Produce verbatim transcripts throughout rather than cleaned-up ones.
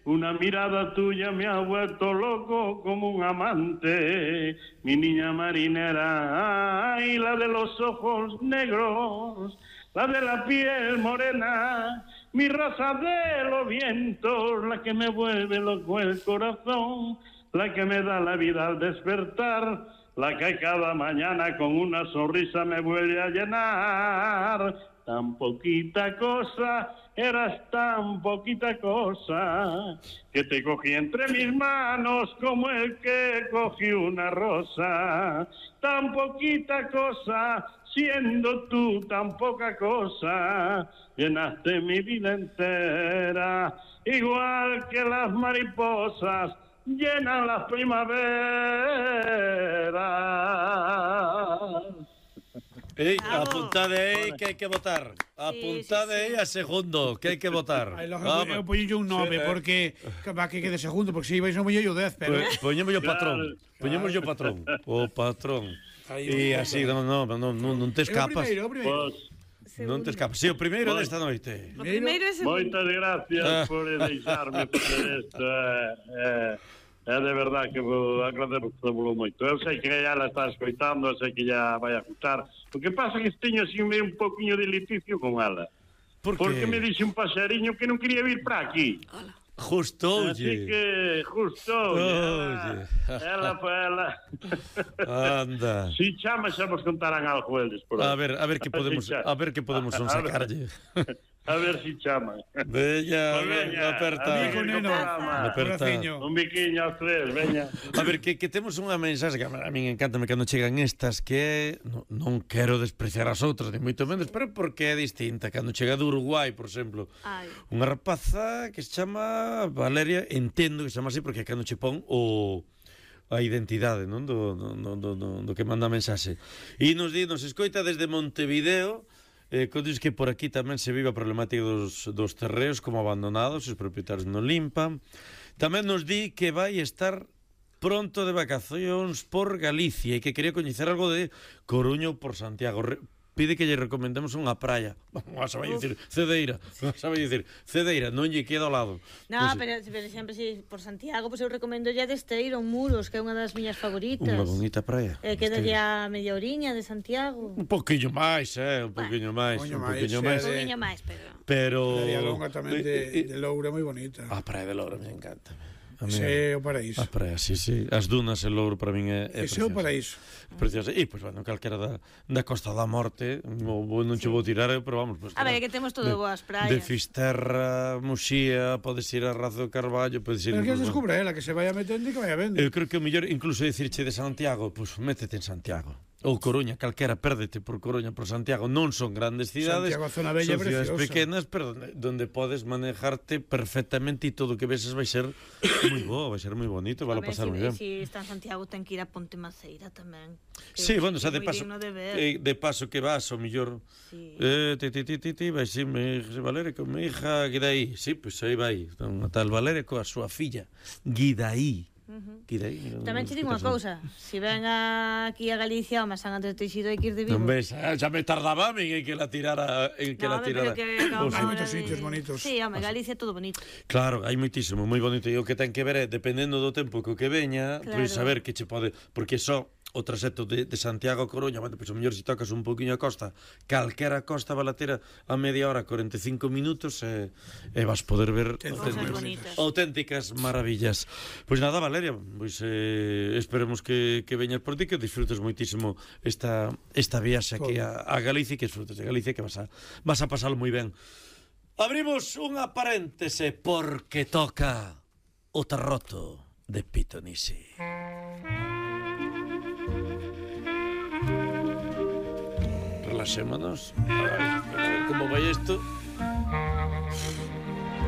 Una mirada tuya me ha vuelto loco como un amante, mi niña marinera, ay, la de los ojos negros, la de la piel morena, mi rosa de los vientos, la que me vuelve loco el corazón, la que me da la vida al despertar, la que cada mañana con una sonrisa me vuelve a llenar. Tan poquita cosa, eras tan poquita cosa, que te cogí entre mis manos como el que cogió una rosa. Tan poquita cosa, siendo tú tan poca cosa, llenaste mi vida entera, igual que las mariposas llenan las primaveras. Ei, apuntade aí que hai que votar. Apuntade aí a segundo que hai que votar. Ai, logo, eu poño un nove porque va que quede segundo, porque se ibais non poño o dez, pero poñemos o patrón. Poñemos o patrón. O patrón. E así non non non non te escapas. O primeiro, Non te escapas. Si, o primeiro desta noite. O primeiro é segundo. Moitas gracias por deixarme facer isto. É, é de verdade que vou agradecelo moito. Eu sei que já la está escoitando, eu sei que já vai a gustar. O que pasa é que teño así un pouquinho de litigio con ela. Por Porque me dixe un paxariño que non quería vir para aquí. Justo, Así que, justo, oye. Ela foi ela. Anda. Si chama, xa vos contarán algo eles por aí. A ver, a ver que podemos, a ver que podemos son sacarlle. A ver si chama. Veña, Pues veña, aperta. amigo, neno. Aperta. Un biquiño aos tres, veña. A ver, que, que temos unha mensaxe que a min encántame cando chegan estas, que é, no, non quero despreciar as outras, ni moito menos, pero porque é distinta. Cando chega do Uruguai, por exemplo, Ai. unha rapaza que se chama Valeria, entendo que se chama así porque cando che pon o a identidade, non, do, do, do, do, do que manda a mensaxe. E nos di, nos escoita desde Montevideo. Eh, Contes que por aquí tamén se vive a problemática dos, dos terreos como abandonados, os propietarios non limpan. Tamén nos di que vai estar pronto de vacacións por Galicia e que quería coñecer algo de Coruña ou por Santiago. Re Pide que lle recomendemos unha praia. Vas a vai dicir Cedeira, vas a vai dicir Cedeira, non lle queda ao lado. No, pues, pero, pero sempre si por Santiago, pois pues eu recomendo lle de Esteiro, Muros, que é unha das miñas favoritas. Unha bonita praia. Eh, queda ya media oriña de Santiago. Un poquinho máis, eh, un poquinho máis, un poquinho máis. Un poquinho máis, pero Pero Praia Longa tamén de, de Loura moi bonita. A praia de Loura me encanta. Ese é o paraíso. A praia, sí, sí. As dunas e Louro para min é, é ese é o paraíso. Precioso. E, pois, bueno, calquera da, da Costa da Morte, o, non che vou tirar, pero vamos, pues, a ver, que temos todo de, boas praias. De Fisterra, Muxía, podes ir a Razo de Carballo, podes ir... Pero que descubre ela, que se vaya metendo e que vaya vendo. Eu creo que o mellor, incluso dicirche de Santiago, pois, pues, métete en Santiago. Ou Coruña, calquera, pérdete por Coruña, por Santiago. Non son grandes cidades, Santiago, zona bella, son cidades preciosa, pequenas, pero donde, donde podes manejarte perfectamente e todo o que veses vai ser moi bo, vai ser moi bonito, vai a pasar moi ben. Se está en Santiago ten que ir a Ponte Maceira tamén. Sí, bueno, xa de paso, de, eh, de paso que vas, o mellor, sí. eh, ti, ti, ti, ti, ti, vai si, me, Valeria, con mi hija Guidaí, sí, pois pues aí vai, unha tal Valeria coa súa filla, Guidaí. Uh-huh. Guidaí, tamén te digo unha cousa, se ven aquí a Galicia o Masán Andrés Teixido hai que ir de vivo. Non ves, xa me tardaba a min en que la tirara, en que no, la tirara. Que hai moitos sitios bonitos. Sí, home, Galicia é todo bonito. Claro, hai moitísimo, moi bonito, e o que ten que ver é, dependendo do tempo que o que veña, claro. Pois saber que che pode, porque só o traxecto de, de Santiago a Coruña, bueno, pois o mellor se tocas un poquinho a costa, calquera costa balatera a media hora, cuarenta e cinco minutos, e, e vas poder ver auténticas, auténticas maravillas. Pois nada, Valeria, pois eh, esperemos que, que veñas por ti, que disfrutes moitísimo esta, esta viaxe aquí a, a Galicia, que disfrutes de Galicia, que vas a, vas a pasalo moi ben. Abrimos unha paréntese porque toca o Tarroto de Pitonisi. Relaxémonos. Ay, como vai isto?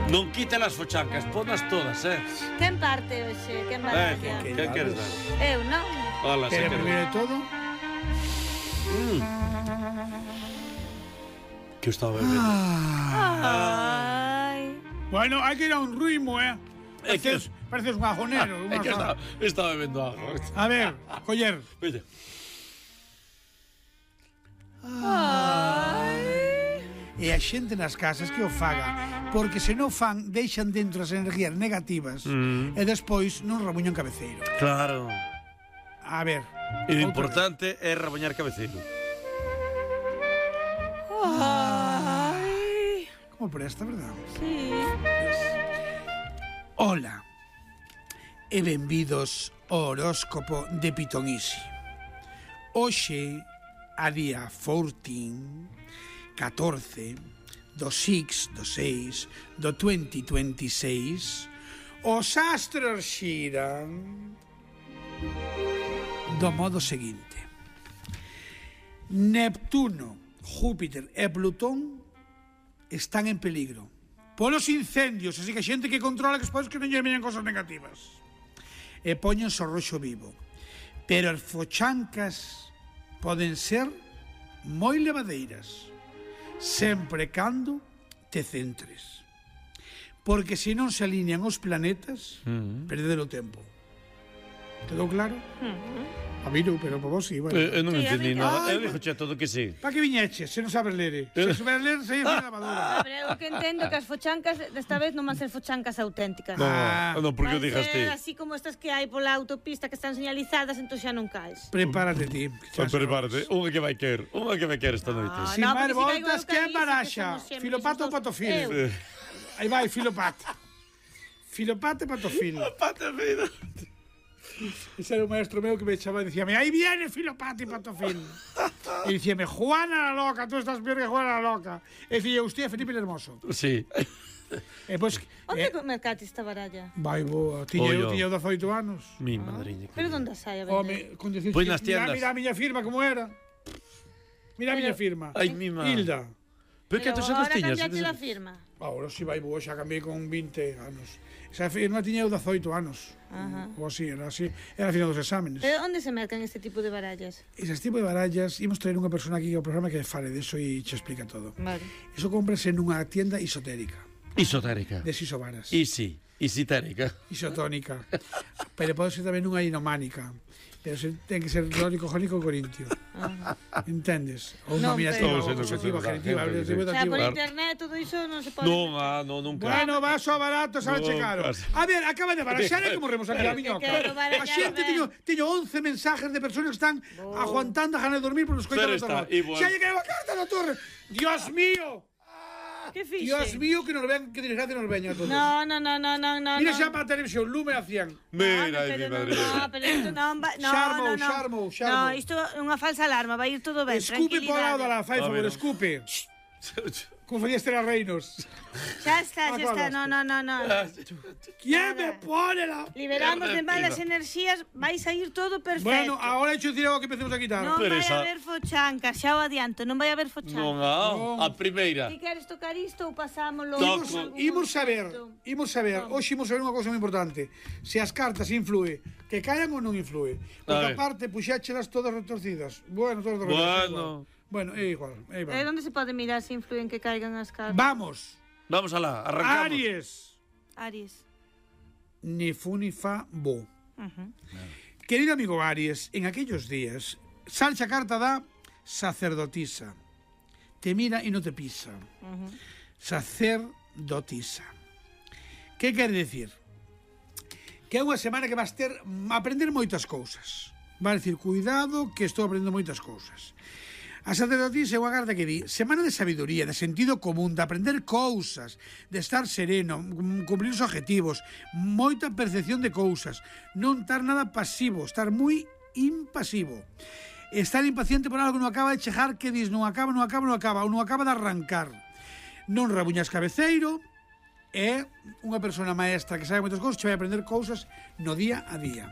Non quite las fochancas, ponas todas, eh? Quen parte hoxe? Quen vai? Eh, que, que queres dar? Eu non. Hola, que primeiro de todo? Mm. Que estaba bebendo. Ah. Ai. Bueno, hai que ir a un ritmo, eh? É que Pareces, pareces un ajonero. É que estaba, estaba bebendo agua. A ver, coller. Veña. Ai. e a xente nas casas que o faga, porque se non fan, deixan dentro as energías negativas Mm. e despois non rabuñan cabeceiro. Claro. A ver. E o outra importante é raboñar cabeceiro. Ai, vez. Como presta, verdad? sí. Ola e benvidos ao horóscopo de Pitonisi. Hoxe, a día catorce, do seis do seis do vinte vinte e seis, os astros xiran do modo seguinte: Neptuno, Júpiter e Plutón están en peligro polos incendios, así que a xente que controla que despois que non lle veñan cosas negativas e poñense o roxo vivo, pero as fochancas poden ser moi levadeiras sempre cando te centres, porque se non se alinean os planetas Mm. perder o tempo. Quedou claro? A mí non, pero por vos sí, bueno. Eu non Sí, a entendí mí- nada. Ai, Eu dixo che todo que sí. Pa que viñeches, se non sabes ler? Se souberes ler, se ia a lavadora. Pero eu que entendo que as fochancas desta vez non van ser fochancas auténticas. No, Ah. non, porque o Van dixas ti. ser así como estas que hai pola autopista que están señalizadas, entón xa non caes. Prepárate ti. Pois prepárate, unha que vai quer, unha que vai quer esta noite. Ah, Sin no, máis porque si caigo voltas, eu, que caí, embaraxa? que somos sempre Filopato ou esos dous. patofil? Eu. Aí vai, filopat. Filopat e patofil. Pata vida. Ese era un maestro meu que me echaba e dicíame, aí viene filopat e patofil. E dicíame, Juana la loca, tú estás peor que Juana la loca. E dicía, usted, Felipe el Hermoso. Sí. E pois, Onde eh, mercate esta baralla? vai boa, tiña eu, Ollo. tiña eu dezoito anos. Mi madriña. Pero onde sai a vender? Home, con decir, Pois nas mira, tiendas. mira a miña firma como era. Mira a miña firma. Ai, mi madre. Hilda. Pero que Pero tos anos agora tiñas? cambiaste a firma. Ahora si vai boa, xa cambiei con vinte anos. Esa firma tiña eu dezoito anos. Ajá. Ou así, era así. Era a final dos exámenes. Pero onde se mercan este tipo de barallas? Esas tipo de barallas, imos traer unha persona aquí ao programa que fale de eso e che explica todo. Vale. Iso cómprase nunha tienda isotérica, Isotérica. de isobaras. Isi. Isitérica. Isotónica. Pero pode ser tamén unha inománica. Pero se, ten que ser lórico, jónico, corintio. Entendes? Ou Non, nominativa, pero- ou objetiva, Claro, genitiva, claro, objetiva, O sea, por dativa. internet todo iso non se pode. Non, ah, non, nunca. Bueno, vaso a barato, sale che No, caro. casi. A ver, acaba de baraxar e como remos aquí a miñoca. quero A barallar, xente ben. teño, teño once mensajes de personas que están aguantando a gana de dormir por os coitar Pero da está, torre. igual. Xa lle caeu a carta da torre. Dios mío. Que fixe? Dios mío, que nos ven, que desgracia nos veña a todos. No, no, no, no, no, no. Mira no. xa para a televisión, lume a cien. Mira, No, ai, mi pero madre. No, pero isto non va... No, Xarmou, no, no. xarmou, xarmou. No, isto é unha falsa alarma, vai ir todo ben, Escupe por lado da la, tranquilidade. fai A favor, ver. escupe. Como facía Estela Reinos. Xa está, xa está, Acordaste. no, no, no, no. ¿Quién me pone la...? Liberamos de malas enerxías, vai sair todo perfecto. Bueno, ahora he hecho decir algo que empecemos a quitar. Non Pero vai esa- haber fochancas, xa o adianto, non vai haber Non, fochancas. ah, a primeira. Ti queres tocar isto ou pasámolo? Toco. en algún Imos saber, momento? imos saber, hoxe imos saber unha cousa moi importante. Se as cartas influe, que caian ou non influe. Porque A ver. aparte puxáchelas todas retorcidas. Bueno, todas retorcidas. é Bueno. igual. Bueno, é igual, é Eh, igual. onde se pode mirar se influen que caigan as cartas? Vamos. Vamos alá, arrancamos. Aries. Aries. Ni fu ni fa bo. Ujú. Querido amigo Aries, en aquellos días, salcha carta da sacerdotisa. Te mira e non te pisa. Ujú. Sacerdotisa. Que quere decir? Que é unha semana que vas ter a aprender moitas cousas. Vai decir, cuidado que estou aprendendo moitas cousas. A sacerdotisa é unha carta que di semana de sabiduría, de sentido común, de aprender cousas, de estar sereno, cumplir os objetivos, moita percepción de cousas, non estar nada pasivo, estar moi impasivo. Estar impaciente por algo que non acaba de chegar, que dis, non acaba, non acaba, non acaba, ou non acaba de arrancar. Non rabuñas cabeceiro, é unha persona maestra que sabe moitas cousas, che vai aprender cousas no día a día.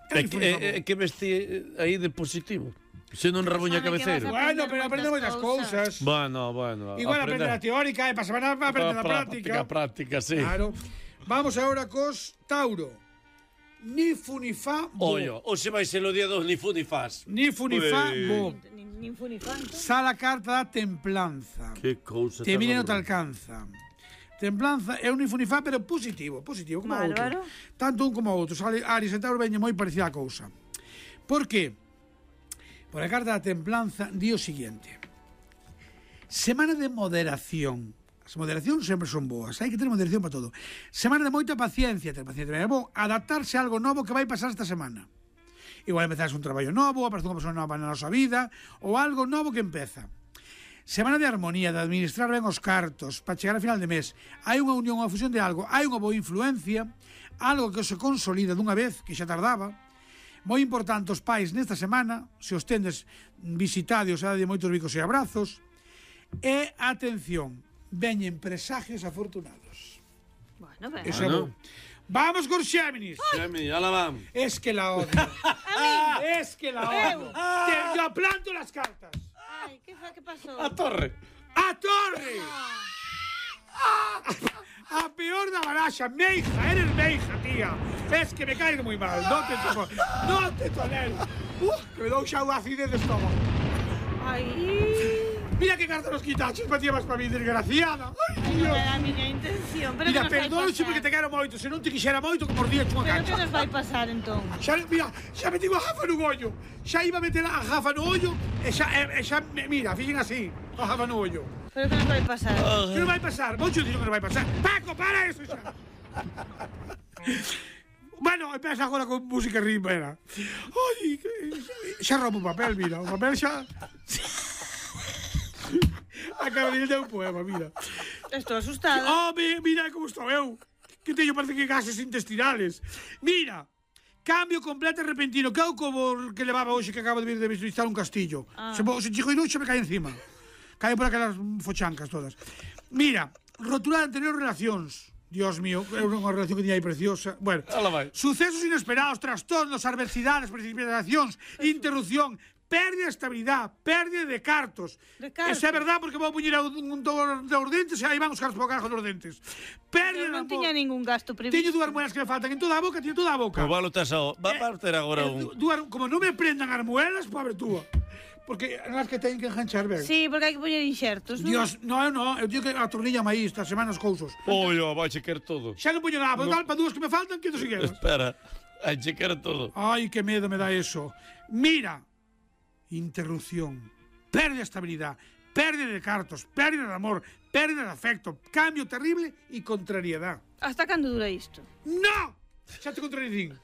É que, é, é que vesti aí de positivo. Se non rabuña Sabe que cabeceiro. vas a- Bueno, pero aprende moitas cousas. Bueno, bueno. Igual aprende a teórica e para semana va a aprender a práctica. práctica, sí. Claro. Vamos agora cos Tauro. Ni fu ni fa bo. Ollo, hoxe vai ser o día dos ni fu ni fas. Ni fu ni fa Ui. bo. Ni, ni fu ni fa, entón. Sala carta da templanza. Que cousa. Te tan mire non te horrorosa. alcanza. Templanza é un ni fu ni fa, pero positivo, positivo, como Bárbaro. outro. Tanto un como outro. Sale Aries e Tauro veñen moi parecida a cousa. Por que? Por a carta da templanza di o seguinte. Semana de moderación. As moderacións sempre son boas, hai que ter moderación para todo. Semana de moita paciencia, ter paciencia é bo, adaptarse a algo novo que vai pasar esta semana. Igual empezar un traballo novo, aparece unha persona nova na nosa vida, ou algo novo que empeza. Semana de armonía, de administrar ben os cartos, para chegar a final de mes. Hai unha unión, unha fusión de algo, hai unha boa influencia, algo que se consolida dunha vez, que xa tardaba. Moi importante os pais nesta semana, se os tendes visitados, a de moitos bicos e abrazos. E, atención, veñen presagios afortunados. Bueno, ben. Eso é Bueno. bo. Vamos con Xéminis. Xemi, ala van. Es que la odio. Es que la odio. Te, yo planto las cartas. Ai, que fa, que pasou? A torre. ¡A torre! A peor da baraxa, Meija, eres Meija, tía. Es que me caigo muy mal, no te toco, no te tolero. Uh, que me dou xa unha acidez de estómago. Ai, Mira que carta nos quitaches, para ti vas para mí, desgraciada. Ay, non Dios. era a miña intención, pero Mira, que nos vai perdónxe pasar? porque te quero moito, se non te quixera moito, que mordías unha Pero que cancha. nos vai pasar, entón? Xa, mira, xa meti a gafa no ollo. Xa iba a meter a gafa no ollo e xa, e, e xa mira, fixen así, a gafa no ollo. Pero que nos vai pasar? Que non vai pasar? Moito dixo que non vai pasar. Paco, para eso xa. Bueno, empeza agora con música rimbera. Ai, que- xa rompo o papel, mira, o papel xa... Acaba de ler un poema, mira. Estou asustada. Oh, mi- mira como estou eu. Que teño, parece que gases intestinales. Mira, cambio completo e repentino. Que é o como que levaba hoxe que acaba de vir de visitar un castillo. Ah. Se, mo- se chico inuxe me cae encima. Cae por aquelas fochancas todas. Mira, rotura de anteriores relacións. Dios mío, é unha relación que tiña aí preciosa. Bueno, Ala vai. sucesos inesperados, trastornos, adversidades, precipitacións, interrupción, pérdida de estabilidade, pérdida de cartos. De cartos. Esa é verdad porque vou puñer un, un dos dos dentes e aí van os cartos para o carajo dos dentes. Pérdida Eu non de tiña amor. ningún gasto previsto. Teño dúas muelas que me faltan en toda a boca, teño toda a boca. Como valo tes a... Va a ter agora Eh, un... du- dúas- como non me prendan as muelas, pobre túa. Porque as que teñen que enganchar ben. Sí, porque hai que poñer inxertos, non? Dios, no, eu non, eu digo que a tornilla aí esta semana as cousas. Ollo, vai chequer todo. Xa non poño nada, no. Tal, para dúas que me faltan, que non segueras. Espera. Vai chequer todo. Ai, que medo me dá eso. Mira, interrupción, pérdida de estabilidade, pérdida de cartos, pérdida de amor, pérdida de afecto, cambio terrible e contrariedad. Hasta cando dura isto? ¡No! Xa te contradicín.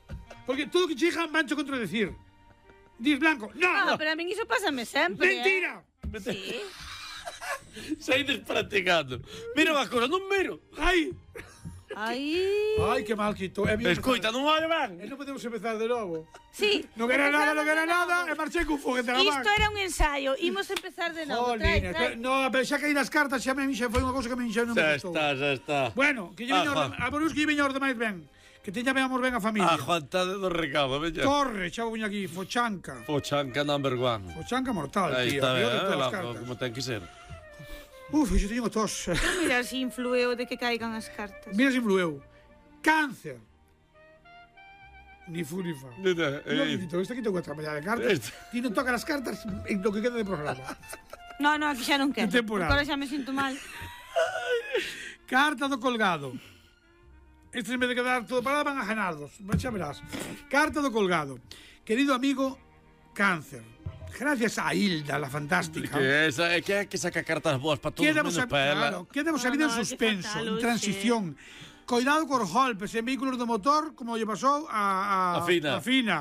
Porque todo o que chegan van a contradecir. Dis blanco, Ah, no. pero a min iso pásame sempre, Mentira. eh? Sí. Saides practicando. Mira unha cosa, non miro. Ai, Ai. ai, que mal que estou. É Escoita, non vai ben. E non podemos empezar de novo. Sí. Non era nada, non era Empezamos de nada, e novo. marchei con foguete na man. Isto era un ensaio. Imos empezar de novo. Trae, Jolines, trae. pero- no, pero xa caí nas cartas, xa me xa foi unha cousa que me xa non Xa me gustou. está, xa está. Bueno, que lle Ah, veña Juan. orde, a por uns que lle veña orde máis ben. Que teña veamos ben a familia. A Juantade do recado, veña. Torre, xa vou aquí, Fochanca. Fochanca number one. Fochanca mortal, Aí tío. está, peor de eh, todas as la- cartas. como ten que ser. Uf, xo teño tos. Mira se influeu de que caigan as cartas. Mira se influeu. Cáncer. Ni fu ni fa. Mira, No, eh, Quito, esta que tengo que traballar de cartas. Este. Ti non toca as cartas en lo que queda de programa. No, no, aquí xa non quero. De temporada. Porque ahora xa me sinto mal. Carta do colgado. Estes en vez de quedar todo parado van a ganardos. Xa verás. Carta do colgado. Querido amigo Cáncer. Gracias a Hilda, la fantástica. Que esa, é que hai que sacar cartas boas para todos Quedamos menos a, para ela. claro, quedamos a No, vida no, en hai que suspenso, faltalo, en transición. Cuidado cos golpes en vehículos do motor, como lle pasou a, a, A Fina. a Fina.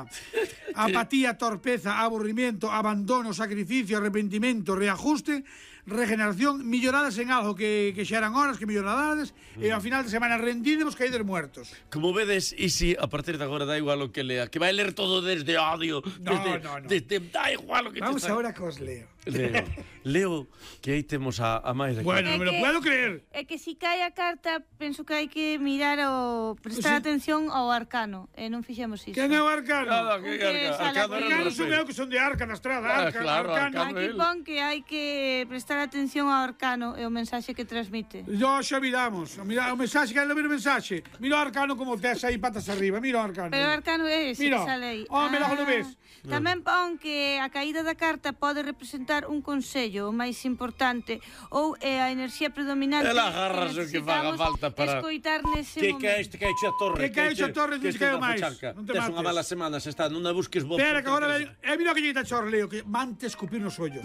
Apatía, torpeza, aburrimiento, abandono, sacrificio, arrepentimento, reajuste, regeneración, milloradas en algo que, que xa eran horas, que milloradades, Mm. e ao final de semana rendídemos caídos muertos. Como vedes, Isi, a partir de agora da igual o que lea, que vai ler todo desde odio, No, desde, no, no. desde da igual o que Vamos te ahora cos leo. Leo, Leo, que aí temos a, a máis de Bueno, É non me lo que- puedo creer. É que si cae a carta, penso que hai que mirar o prestar Sí. atención ao arcano, e non fixemos iso. Quen é o arcano? Nada, Un que que arca, sale arcano aquí. era Arcano o son Rafael. eu que son de Arca na estrada, Ah, Arca, claro, arcano. Arcano. Aquí pon que hai que prestar atención ao arcano e o mensaxe que transmite. Yo xa miramos, mira o mensaxe, quero ver o mensaxe. Mira o arcano como tes aí patas arriba, mira o arcano. Pero o arcano é ese Mira. que sale aí. Oh, mira, non ves? Tamén pon que a caída da carta pode representar un consello, o máis importante, ou é a enerxía predominante. Ela agarras o que faga necesitamos falta para- escoitar nese Que momento. que é este que hai a torre? Que que hai a torre, non que te quero este da máis. Fochanca. Non te Tes mates. unha mala semana, se está, non a busques vos. Espera, porque que agora te ven. Eh, mira que lle está chorleo, que mante escupir nos ollos.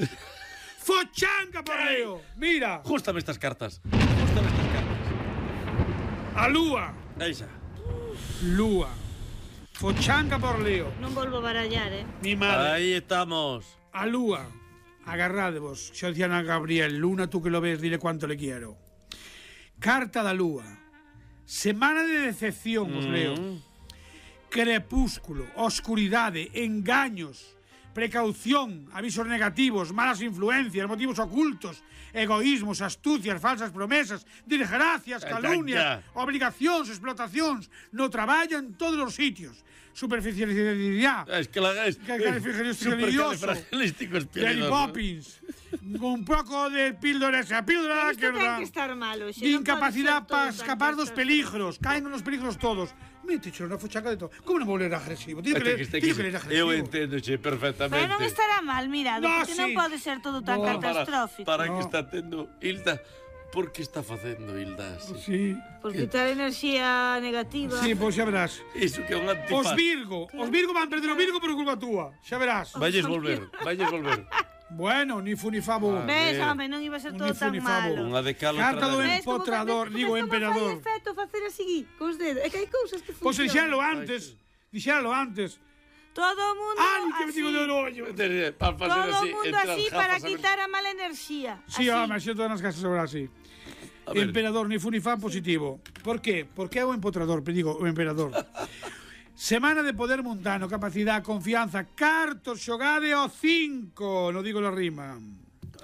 Fochanca por Leo. Mira. Jústame estas cartas. Jústame estas cartas. A lúa. Aí xa. Lúa. Fochanca por Leo. Non volvo a barallar, eh? Mi madre. Aí estamos. A lúa. Agarradevos. Xa dicían a Gabriel. Luna, tú que lo ves, dile cuánto le quiero. Carta da lúa. Semana de decepción, os leo. Crepúsculo, oscuridade, engaños, precaución, avisos negativos, malas influencias, motivos ocultos, egoísmos, astucias, falsas promesas, desgracias, calumnias, obligacións, explotacións, no traballo en todos os sitios. Superficialidad. Es que la es supercalifragilístico Mary Poppins. Un pouco de píldora esa píldora Isto que ten que estar malo. de incapacidade para escapar dos peligros. Caen nos peligros todos. Mete, choro, na fochaca de todo. Como non vou ler agresivo? Tío que ler, tío que ler agresivo. Eu entendo, che, perfectamente. Pero non estará mal, mirado, No, porque sí. non pode ser todo tan No. catastrófico. Para, para No. que está tendo Hilda. Por que está facendo Hilda así? Sí. Por quitar enerxía negativa. Sí, pois xa verás. Iso que é un antifaz. Os Virgo, os Virgo van perder o Virgo por culpa túa. Xa verás. Valles volver, valles volver. Bueno, ni fu ni favo. Ves, ver. home, non iba a ser Un todo ni fu tan ni favo. malo. Unha de cal, Carta do outra de Ves como empotrador, fa- digo ves como emperador. fai efecto facer así, cos dedos. É que hai cousas que Pois funcionan. dixéralo antes. Dixéralo antes. Todo o mundo Ai, que me así. digo de ollo. Para facer Todo o así, mundo entre as así gafas, para a ver- quitar a mala enerxía. Sí, Así. home, xa todas nas casas ahora así. A ver. Emperador, ni fu ni fa positivo. Por qué? Porque é o empotrador, pero digo, o emperador. Semana de poder mundano, capacidade, confianza, cartos, xogade o cinco. No digo la rima.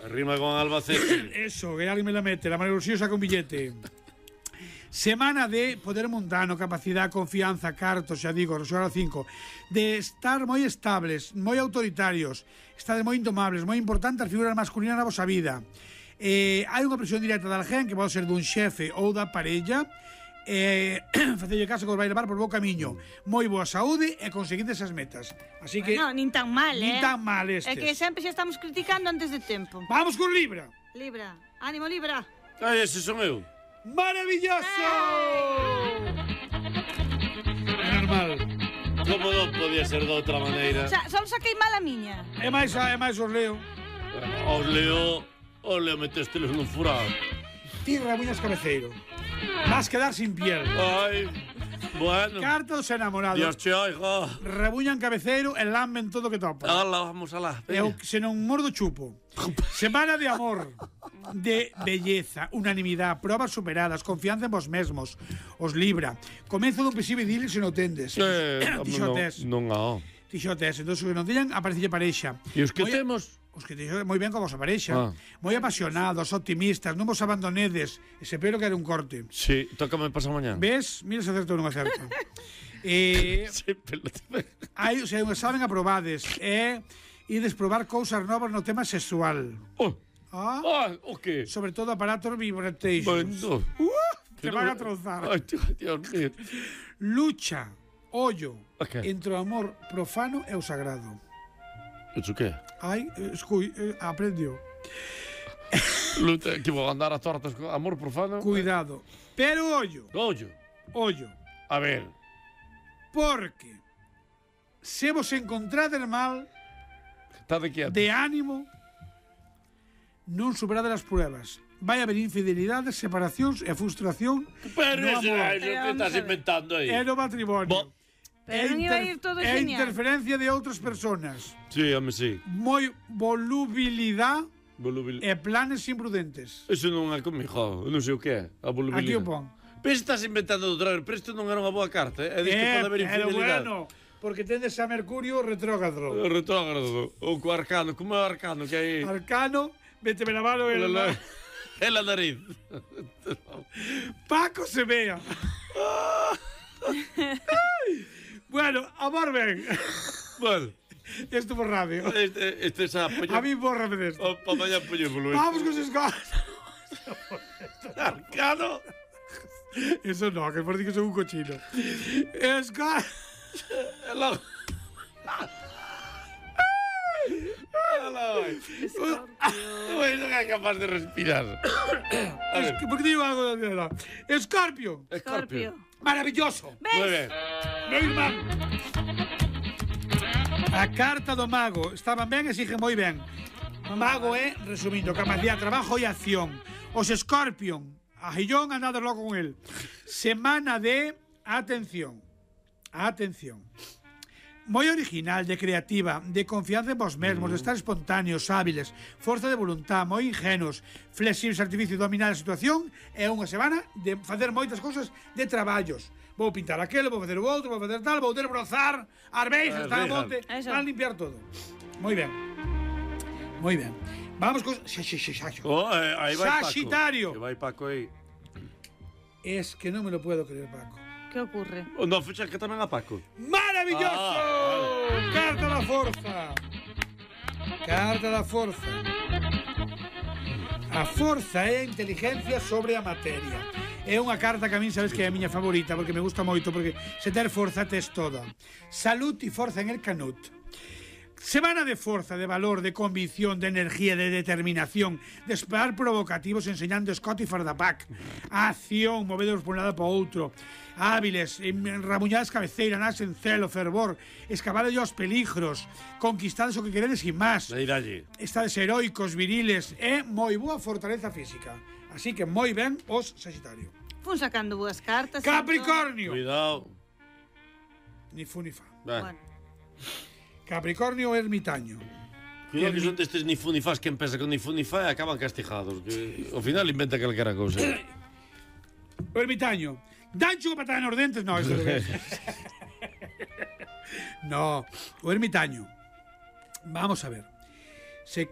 Rima con Albacete. Eso, que alguien me la mete, la María Rocío saca un billete. Semana de poder mundano, capacidade, confianza, cartos, xa digo, xogar o cinco. De estar moi estables, moi autoritarios, estades moi indomables, moi importante as figuras masculinas na vosa vida. Eh, hai unha presión directa de alguén que pode ser dun xefe ou da parella, eh, facelle caso que os vai levar por bo camiño, moi boa saúde e conseguides esas metas. Así que No, nin tan mal, nin eh? tan mal É estes. que sempre xa estamos criticando antes de tempo. Vamos con Libra. Libra, ánimo Libra. Ai, ese son eu. ¡Maravilloso! É normal. Como non podía ser de outra maneira? Xa, só saquei mal a miña. É máis, é máis os leo. Os leo, os leo metestelos nun furado. Ti rabuñas cabeceiro. Vas quedar sin piel. Ai, bueno. Carta dos enamorados. Dios che oiga. Rabuñan cabeceiro e lamben todo que topa. Ala, vamos alá. E o, se non mordo chupo. Semana de amor, de belleza, unanimidade, probas superadas, confianza en vos mesmos. Os Libra. Comezo dun posible idilio se non tendes. Eh, Tixotes. non, non há. Tixotes. Entón, os que non teñan, aparecelle parexa. E os que Moi- temos? Os que teño moi ben con vosa parexa. Ah. Moi apasionados, optimistas, non vos abandonedes. Ese pero que era un corte. Sí, tócame pasar mañá. Ves? Mira se acerto ou non acerto. eh, Sí, pelota. hai, o sea, un examen aprobades. E ides probar cousas novas no tema sexual. Oh, Ah, ah, o que? sobre todo aparatos vibrations. Bueno. Uh, te Que van a no- trozar. Ai, Dios mío. Lucha, ollo, Ok. entre o amor profano e o sagrado. Iso que? Ai, eh, escui, eh, aprendió. Luta, que vou andar a tortas con amor profano? Cuidado. Pero ollo, Ollo. ollo. A ver. Porque se vos encontrades mal Está de quieto. de ánimo, non superades as pruebas. Vai haber infidelidades, separacións e frustración Pero no ese amor. é iso que estás inventando aí. e no matrimonio. Bo- Pero non iba a ir todo e genial. interferencia de outras personas. Sí, home, sí. Moi volubilidade Volubil... e planes imprudentes. Eso non é comigo, non sei o que é. A volubilidade. Aquí o pon. Pero estás inventando outra vez, pero isto non era unha boa carta, eh? É disto Eh, pode haber pero infidelidade. bueno, porque tendes a Mercurio retrógrado. O retrógrado, o co arcano, como é o arcano que hai? Arcano, vete la mano É el... la, é la nariz. Paco se vea. Bueno, amor ben. Bueno, Esto por radio. este, este xa apoño... A mí bórrame de esto. O, pa mañá apoñémolo. Vamos con sus cosas. Arcano. Eso no, que por ti que soy un cochino. Esca... É logo. Ui, non é capaz de respirar. A ver, Es- ¿Por qué digo algo de la Escorpio. Escorpio. Maravilloso. Moi Ves? ben. Meu irmán. A carta do mago. Estaban ben e sigue moi ben. Mago é, resumindo, capacidad, trabajo e acción. Os Scorpion, a Gillón andado loco con él. Semana de atención. Atención. Moi original, de creativa, de confianza en vos mesmos, de estar espontáneos, hábiles, forza de voluntad, moi ingenuos, flexibles, artificio, dominar a situación. É unha semana de facer moitas cousas de traballos. Vou pintar aquelo, vou facer o outro, vou facer tal, vou desbrozar as beixas, tal, monte, tal, limpiar todo. Moi ben. Moi ben. Vamos con... Oh, eh, aí vai Saxitario. Paco. Que vai Paco aí. Es que non me lo puedo creer, Paco. Que ocurre? O no, fecha que tamén a Paco. ¡Maravilloso! Ah, vale. Carta da forza. Carta da forza. A forza é a inteligencia sobre a materia. É unha carta que a min sabes que é a miña favorita porque me gusta moito, porque se ter forza tes toda. Salud e forza en el canut. Semana de forza, de valor, de convicción, de energía, de determinación, de esperar provocativos enseñando Scott e Fardapac. Acción, movedos por un lado para outro. Hábiles, enrabuñadas cabeceiras, nas en celo, fervor, escapade aos peligros, conquistados o que queredes e máis. Estades heroicos, viriles, e moi boa fortaleza física. Así que moi ben os Sagitario. Fun sacando boas cartas. Capricornio. Cuidado. Ni fu ni fa. Bueno. Capricornio ermitaño. Cuidado que son destes ni fu ni fas que empeza con ni fu ni fa e acaban castigados. Que ao final inventa calquera cousa. O ermitaño. Dancho que patada nos dentes. No, eso es. No, o ermitaño. Vamos a ver. Se